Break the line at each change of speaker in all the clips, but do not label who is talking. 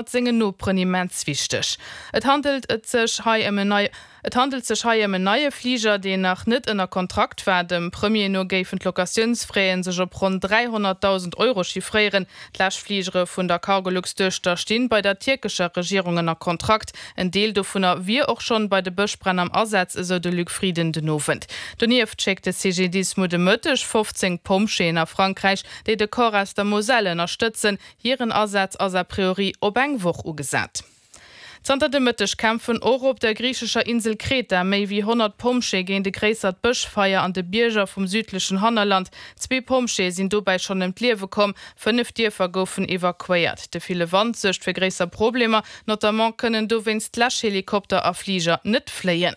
Sengen Noperen immens wichteg. Et handelt et sech hei ëm en nei Et handelt sech hei ëm en neie Fliger, deen nach net ënner Kontrakt war. Dem Premier no géifen d'Locatiounsfraie sech op ronn 300.000 Euro chiffréieren. D'Läschfligere vun der Cargolux-Duechter stinn bei der tierkescher Regierung ënner Kontrakt. En Deel dovunner wier och schonn bei de Bëschbränn am Asaz, esou de Luc Frieden den Owend. Donieft schéckt de CGDIS muer de Mëtteg 15 Pompjeeën a Frankräich, déi de Corps aus der Moselle ënnerstëtzen. Hiren Asaz ass a priori op eng Woch ugesat. Zanter de Mëtteg kämpfen och op der griichescher Insel Kreta méi wéi 100 Pompjeeë géint e gréissert Bëschfeier an de Bierger vum südlechen Hannerland. Zwee Pompjeeë sinn dobäi schonn ëm d'Liewe komm, 5 Dierfer goufen evakuéiert. De ville Wand suergt fir gréisser Problemer, notamment kënnen dowéinst Läschhelikopter a Fliger net fléien.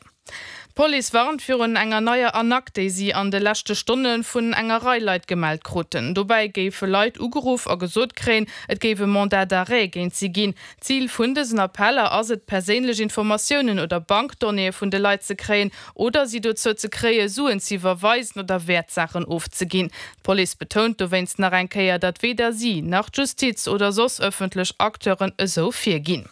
D'Police warnt virun enger neier Arnaque, déi si an de leschte Stonne vun enger Rei Leit gemellt kruten. Dobäi géife Leit ugeruff a gesot kréien, et géif e Mandat d'arrêt géint si ginn. Zil vun dësen Appeller ass et, perséinlech Informatiounen oder Bankdonnéeë vun de Leit ze kréien oder si dozou ze kréie Suen ze iwwerweisen oder Wäertsaachen ofzeginn. D'Police betount dowéinst nach eng Kéier, datt weder si, nach d'Justiz oder soss ëffentlech Acteuren esou virginn.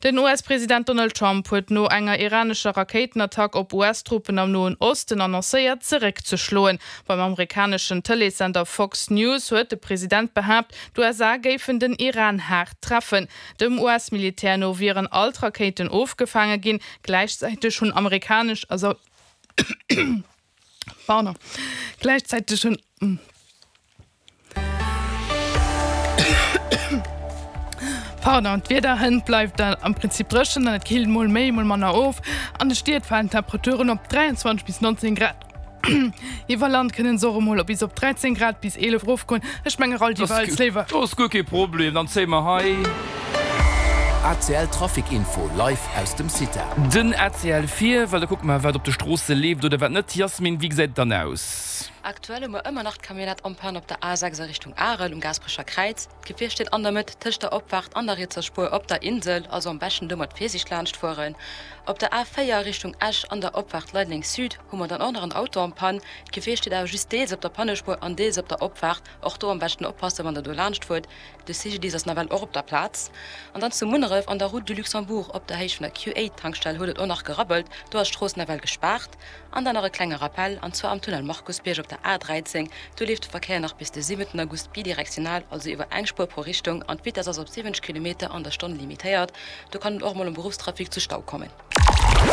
Den US-President Donald Trump huet no enger iranescher Rakéitenattack op US-Truppen am Noen Osten annoncéiert, zeréckzeschloen. Beim amerikaneschen Tëleessender Fox News huet de President behaapt, d'USA géifen den Iran haart treffen. Dem US-Militär no wieren all d'Rakéiten ofgefaange ginn. Gläichzäiteg hunn amerikanesch a Gläichzäiteg hunn. Pardon, d'Wieder hënt bleift am Prinzip dréchen an et killt mol méi, mol manner of. An de Stied falen d'Temperaturen op 23 bis 19 Grad. Iwwer Land kënne se och emol op bis op 13 Grad bis 11 erofgoen. Ech menge rall déi Walz léiwer.
Do ass guer kee Problem, dann zéie mer hei.
ACL Trafic Info live aus dem CITA.
Den ACL vir, well da kucke mer wat op de Stroosse leeft oder wat net. Yasmin, wéi gesäit et dann aus?
Aktuell hu mer ëmmer nach d'Camionnette en panne op der A6 a Richtung Arel um Gaasperecher Kräiz. D'Gefier steet an der Mëtt tëscht der Opfaart an der rietser Spuer op der Insel, also am beschten do mat Virsiicht laanscht fueren. Op der A4 a Richtung Esch an der Opfaart Leideleng Sud hu mer dann och nach en Auto en panne. D'Gefier steet awer just deels op der Pannespuer an deels op der Opfaart. Och do am beschten oppassen, wann der do laanscht fuert. De CGDIS ass nawell och op der Plaz. An dann zu Munneref an der Route du Luxembourg op der Héicht vun der Q8-Tankstell huet et och nach gerabbelt. Do ass d'Strooss nawell gespaart. An dann nach e klenge Rappel, an zwar am Tunnel Markusbierg op der A 13, do leeft de Verkéier nach bis de 7 August bidirektional, also iwwer eng Spuer pro Richtung, an d'Vitess ass op 70 Kilometer an der Stonn limitéiert. Do kann et och mol am Beruffstrafic zu Stau kommen.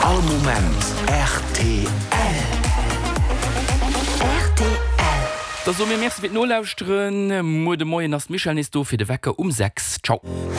All Moment rtl.
Rtl. Da soe mir Merci fir d'Nolauschteren. Muer de Moien ass d'Michèle nees do fir de Wecker um 6. Ciao.